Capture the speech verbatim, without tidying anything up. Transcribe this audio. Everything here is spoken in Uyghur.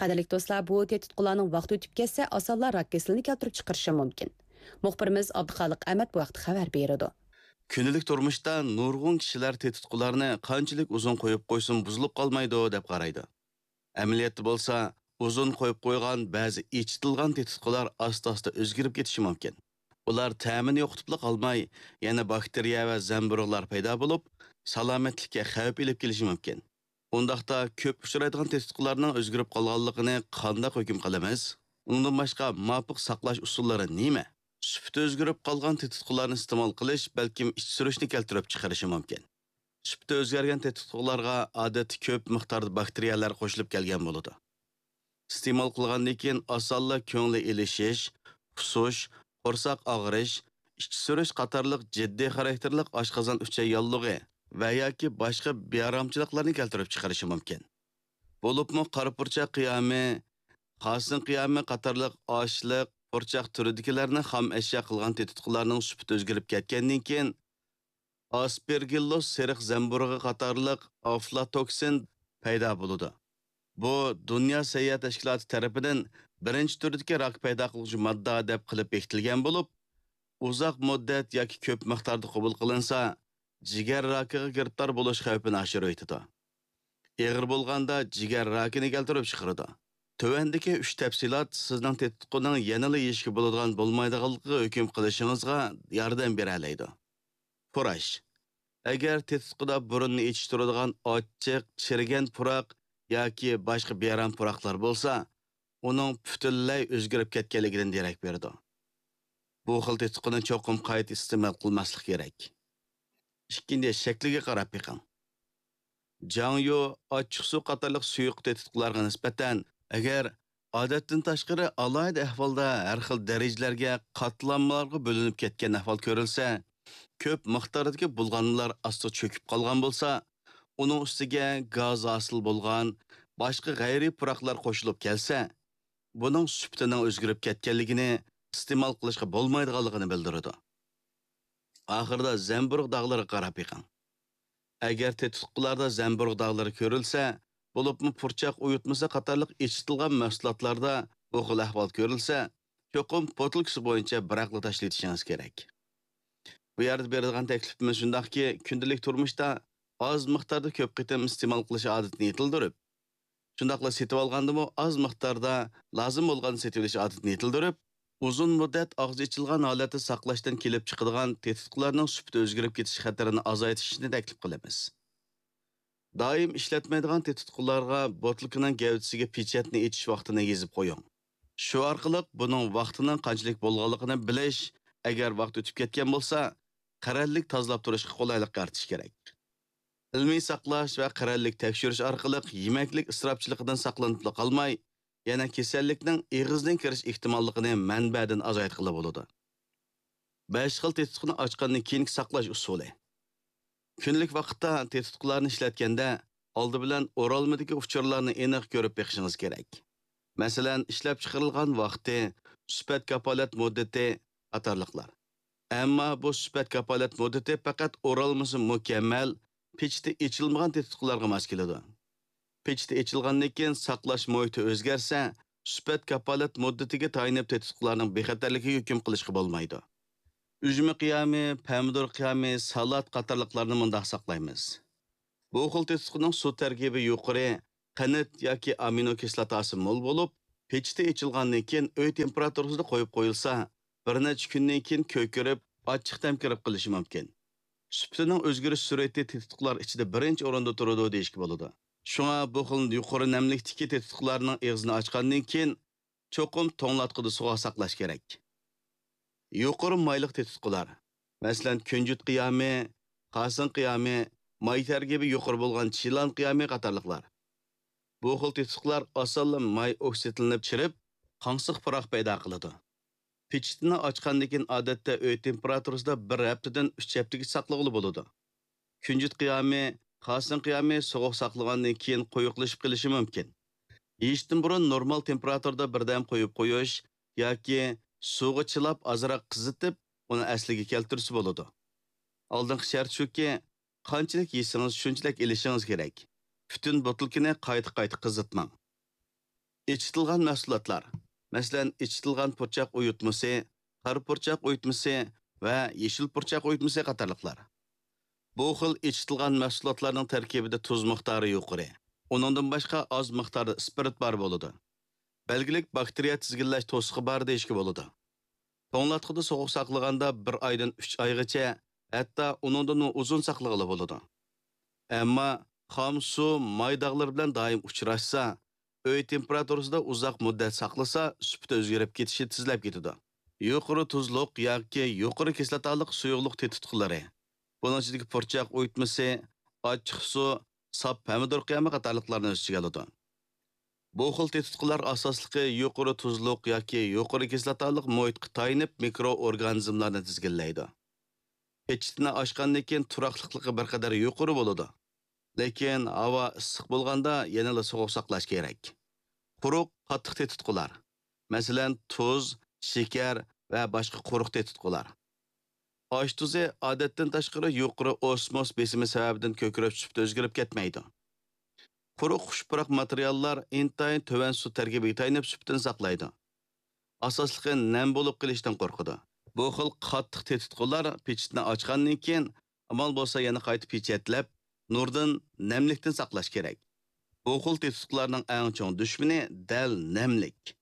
قەدىرلىك دوستلار، بۇ تېتىتقۇلارنىڭ ۋاقتى ئۆتۈپ كەتسە، ئاسانلا راك كېسىلىنى كەلتۈرۈپ چىقىرىشى مۇمكىن. مۇخبىرىمىز ئابدۇخالىق ئەمەت بۇ ھەقتە خەۋەر بېرىدۇ. كۈندىلىك تۇرمۇشتا نۇرغۇن كىشىلەر تېتىتقۇلارنى قانچىلىك ئۇزۇن قويۇپ قويسىمۇ بۇزۇلۇپ قالمايدۇ دەپ قارايدۇ. ئەمەلىيەتتە بولسا، ئۇزۇن قويۇپ قويغان بەزى ئېچىتىلغان تېتىتقۇلار ئاستا-ئاستا ئۆزگىرىپ كېتىشى مۇمكىن. ئۇلار تەمىنى يوقىتىپلا قالماي، يەنە باكتېرىيە ۋە زەمبۇرۇغلار پەيدا بولۇپ، سالامەتلىككە خەۋپ ئېلىپ كېلىشى مۇمكىن. ئۇنداقتا كۆپ ئۇچرايدىغان تېتىتقۇلارنىڭ ئۆزگىرىپ قالغانلىقىنى قانداق ھۆكۈم قىلىمىز؟ ئۇنىڭدىن باشقا ماپۇق ساقلاش ئۇسۇللىرى نېمە؟ سۈپىتى ئۆزگىرىپ قالغان تېتىتقۇلارنى ئىستېمال قىلىش بەلكىم ئىچ سۈرۈشنى كەلتۈرۈپ چىقىرىشى مۇمكىن. سۈپىتى ئۆزگەرگەن تېتىتقۇلارغا ئادەتتە كۆپ مىقداردا باكتېرىيەلەر قوشۇلۇپ كەلگەن بولىدۇ. ئىستېمال قىلغاندىن كېيىن ئاسانلا كۆڭلى ئېلىشىش، قۇسۇش، قورساق ئاغرىش، ئىچ سۈرۈش قاتارلىق جىددىي خاراكتېرلىك ئاشقازان ئۈچەي ياللۇغى ۋە ياكى باشقا بىئارامچىلىقلارنى كەلتۈرۈپ چىقىرىشى مۇمكىن. بولۇپمۇ قارا پۇرچاق قىيامى، خاسىن قىيامى قاتارلىق ئاشلىق، پۇرچاق تۈرىدىكىلەرنى خام ئەشيا قىلغان تېتىتقۇلارنىڭ سۈپىتى ئۆزگىرىپ كەتكەندىن كېيىن، ئاسپېرگىللوس سېرىق زەمبۇرۇغى قاتارلىق ئافلاتوكسىن پەيدا بولىدۇ. بۇ دۇنيا سەھىيە تەشكىلاتى تەرىپىدىن بىرىنچى تۈردىكى راك پەيدا قىلغۇچى ماددا دەپ قىلىپ بېكىتىلگەن بولۇپ، ئۇزاق مۇددەت ياكى كۆپ مىقداردا قوبۇل قىلىنسا، جىگەر راكىغا گىرىپتار بولۇش خەۋپىنى ئاشۇرۇۋېتىدۇ. ئېغىر بولغاندا جىگەر راكىنى كەلتۈرۈپ چىقىرىدۇ. تۆۋەندىكى ئۈچ تەپسىلات سىزنىڭ تېتىتقۇنىڭ يەنىلا يېيىشكە بولىدىغان بولمايدىغانلىقىغا ھۆكۈم قىلىشىڭىزغا ياردەم بېرەلەيدۇ. پۇراش. ئەگەر تېتىتقۇدا بۇرۇننى ئېچىشتۇرىدىغان ئاچچىق، چىرىگەن پۇراق ياكى باشقا بىئارام پۇراقلار بولسا، ئۇنىڭ پۈتۈنلەي ئۆزگىرىپ كەتكەنلىكىدىن دېرەك بېرىدۇ. بۇ خىل تېتىتقۇنى چوقۇم قايتا ئىستېمال قىلماسلىق كېرەك. ئىككىنچى، شەكلىگە قاراپ بېقىڭ. جاڭيۇ، ئاچچىقسۇ قاتارلىق سۇيۇق تېتىتقۇلارغا نىسبەتەن، ئەگەر ئادەتتىن تاشقىرى ئالاھىدە ئەھۋالدا ھەر خىل دەرىجىلەرگە، قاتلاملارغا بۆلۈنۈپ كەتكەن ئەھۋال كۆرۈلسە، كۆپ مىقداردىكى بۇلغانمىلار ئاستا چۆكۈپ قالغان بولسا، ئۇنىڭ ئۈستىگە گاز ھاسىل بولغان باشقا غەيرىي پۇراقلار قوشۇلۇپ كەلسە، بۇنىڭ سۈپىتىنىڭ ئۆزگىرىپ كەتكەنلىكىنى، ئىستېمال قىلىشقا بولمايدىغانلىقىنى بىلدۈرىدۇ. ئاخىرىدا زەمبۇرۇغ داغلىرىغا قاراپ بېقىڭ. ئەگەر تېتىتقۇلاردا زەمبۇرۇغ داغلىرى كۆرۈلسە، بولۇپمۇ پۇرچاق ئۇيۇتمىسى قاتارلىق ئېچىتىلغان مەھسۇلاتلاردا بۇ خىل ئەھۋال كۆرۈلسە، چوقۇم بوتۇلكىسى بويىچە بىراقلا تاشلىۋېتىشىڭىز كېرەك. بۇ يەردە بېرىدىغان تەكلىپىمىز شۇنداقكى، كۈندىلىك تۇرمۇشتا ئاز مىقداردا كۆپ قېتىم ئىستېمال قىلىش ئادىتىنى يېتىلدۈرۈپ، شۇنداقلا سېتىۋالغاندىمۇ ئاز مىقداردا، لازىم بولغاندا سېتىۋېلىش ئادىتىنى يېتىلدۈرۈپ، ئۇزۇن مۇددەت ئاغزى ئېچىلغان ھالەتتە ساقلاشتىن كېلىپ چىقىدىغان تېتىتقۇلارنىڭ سۈپىتى ئۆزگىرىپ كېتىش خەتىرىنى ئازايتىشنى تەكلىپ قىلىمىز. دائىم ئىشلەتمەيدىغان تېتىتقۇلارغا بوتۇلكىنىڭ گەۋدىسىگە پېچەتنى ئېچىش ۋاقتىنى يېزىپ قويۇڭ. شۇ ئارقىلىق بۇنىڭ ۋاقتىنىڭ قانچىلىك بولغانلىقىنى بىلىش، ئەگەر ۋاقىت ئۆتۈپ كەتكەن بولسا، قەرەللىك تازىلاپ تۇرۇشقا قولايلىق يارىتىش كېرەك. ئىلمىي ساقلاش ۋە قەرەللىك تەكشۈرۈش ئارقىلىق يېمەكلىك ئىسراپچىلىقىدىن ساقلىنىپلا قالماي، يەنە كېسەللىكنىڭ ئېغىزدىن كىرىش ئېھتىماللىقىنى مەنبەدىن ئازايتقىلى بولىدۇ. بەش خىل تېتىتقۇنى ئاچقاندىن كېيىنكى ساقلاش ئۇسۇلى. كۈندىلىك ۋاقىتتا تېتىتقۇلارنى ئىشلەتكەندە، ئالدى بىلەن ئورالمىدىكى ئۇچۇرلارنى ئېنىق كۆرۈپ بېقىشىڭىز كېرەك. مەسىلەن، ئىشلەپچىقىرىلغان ۋاقتى، سۈپەت كاپالەت مۇددىتى قاتارلىقلار. ئەمما بۇ سۈپەت كاپالەت مۇددىتى پەقەت ئورالمىسى مۇكەممەل، پېچىتى ئېچىلمىغان تېتىتقۇلارغا ماس كېلىدۇ. پېچىتى ئېچىلغاندىن كېيىن ساقلاش مۇھىتى ئۆزگەرسە، سۈپەت كاپالەت مۇددىتىگە تايىنىپ تېتىتقۇلارنىڭ بىخەتەرلىكىگە ھۆكۈم قىلىشقا بولمايدۇ. ئۈجمە قىيامى، پەمىدۇر قىيامى، سالات قاتارلىقلارنى مۇنداق ساقلايمىز. بۇ خىل تېتىتقۇنىڭ سۇ تەركىبى يۇقىرى، قەنت ياكى ئامىنو كىسلاتاسى مول بولۇپ، پېچىتى ئېچىلغاندىن كېيىن ئۆي تېمپېراتۇرىسىدا قويۇپ قويۇلسا، بىر نەچچە كۈندىن كېيىن كۆكىرىپ، ئاچچىق تەم كىرىپ قېلىشى مۇمكىن. سۈپىتىنىڭ ئۆزگىرىش سۈرئىتى تېتىتقۇلار ئىچىدە بىرىنچى ئورۇندا تۇرىدۇ دېيىشكە بولىدۇ. شۇڭا بۇ خىل يۇقىرى نەملىكتىكى تېتىتقۇلارنىڭ ئېغىزىنى ئاچقاندىن كېيىن، چوقۇم توڭلاتقۇدا سوغۇق ساقلاش كېرەك. يۇقىرى مايلىق تېتىتقۇلار، مەسىلەن، كۈنجۈت قىيامى، خاسىن قىيامى، ماي تەركىبى يۇقىرى بولغان چىلان قىيامى قاتارلىقلار. بۇ خىل تېتىتقۇلار ئاسانلا ماي ئوكسىدلىنىپ چىرىپ، قاڭسىق پۇراق پەيدا قىلىدۇ. پېچىتىنى ئاچقاندىن كېيىن، ئادەتتە ئۆي تېمپېراتۇرىسىدا بىر ھەپتىدىن ئۈچ ھەپتىگىچە ساقلىغىلى بولىدۇ. كۈنجۈت قىيامى، خاسىن قىيامى سوغۇق ساقلىغاندىن كېيىن قويۇقلىشىپ قېلىشى مۇمكىن. يېيىشتىن بۇرۇن نورمال تېمپېراتۇرىدا بىردەم قويۇپ قويۇش ياكى سۇغا چىلاپ ئازراق قىزىتىپ، ئۇنى ئەسلىگە كەلتۈرسە بولىدۇ. ئالدىنقى شەرت شۇكى، قانچىلىك يېسىڭىز، شۇنچىلىك ئېلىشىڭىز كېرەك. پۈتۈن بوتۇلكىنى قايتا-قايتا قىزىتماڭ. ئېچىتىلغان مەھسۇلاتلار، مەسىلەن، ئېچىتىلغان پۇرچاق ئۇيۇتمىسى، قارا پۇرچاق ئۇيۇتمىسى ۋە يېشىل پۇرچاق ئۇيۇتمىسى قاتارلىقلار. بۇ خىل ئېچىتىلغان مەھسۇلاتلارنىڭ تەركىبىدە تۇز مىقدارى يۇقىرى، ئۇنىڭدىن باشقا ئاز مىقداردا ئىسپىرت بار بولىدۇ. بەلگىلىك باكتېرىيە تىزگىنلەش توسۇقى بار دېيىشكە بولىدۇ. توڭلاتقۇدا سوغۇق ساقلىغاندا بىر ئايدىن ئۈچ ئايغىچە، ھەتتا ئۇنىڭدىنمۇ ئۇزۇن ساقلىغىلى بولىدۇ. ئەمما خام سۇ ماي داغلىرى بىلەن دائىم ئۇچراشسا، ئۆي تېمپېراتۇرىسىدا ئۇزاق مۇددەت ساقلىسا، سۈپىتى ئۆزگىرىپ كېتىشى تېزلەپ كېتىدۇ. يۇقىرى تۇزلۇق ياكى يۇقىرى كىسلاتالىق سۇيۇقلۇق تېتىتقۇلىرى، بۇنىڭ ئىچىدىكى پۇرچاق ئۇيۇتمىسى، ئاچچىق سۇ، ساپ پەمىدۇر قىيامى قاتارلىقلارنى ئۆز ئىچىگە ئالىدۇ. بۇ خىل تېتىتقۇلار ئاساسلىقى يۇقىرى تۇزلۇق ياكى يۇقىرى كىسلاتالىق مۇھىتقا تايىنىپ مىكرو ئورگانىزملارنى تىزگىنلەيدۇ. پېچىتىنى ئاچقاندىن كېيىن تۇراقلىقلىقى بىر قەدەر يۇقىرى بولىدۇ. لېكىن ھاۋا ئىسسىق بولغاندا يەنىلا سوغۇق ساقلاش كېرەك. قۇرۇق، قاتتىق تېتىتقۇلار. مەسىلەن، تۇز، شېكەر ۋە باشقا قۇرۇق تېتىتقۇلار. ئاش تۇزى ئادەتتىن تاشقىرى يۇقىرى ئوسموس بېسىمى سەۋەبىدىن كۆكىرەپ سۈپىتى ئۆزگىرىپ كەتمەيدۇ. قۇرۇق خۇش پۇراق ماتېرىياللار ئىنتايىن تۆۋەن سۇ تەركىبىگە تايىنىپ سۈپىتىنى ساقلايدۇ. ئاساسلىقى نەم بولۇپ قېلىشتىن قورقىدۇ. بۇ خىل قاتتىق تېتىتقۇلار پېچىتنى ئاچقاندىن كېيىن، ئامال بولسا يەنە قايتا پېچەتلەپ، نۇردىن، نەملىكتىن ساقلاش كېرەك. بۇ خىل تېتىتقۇلارنىڭ ئەڭ چوڭ دۈشمىنى دەل نەملىك.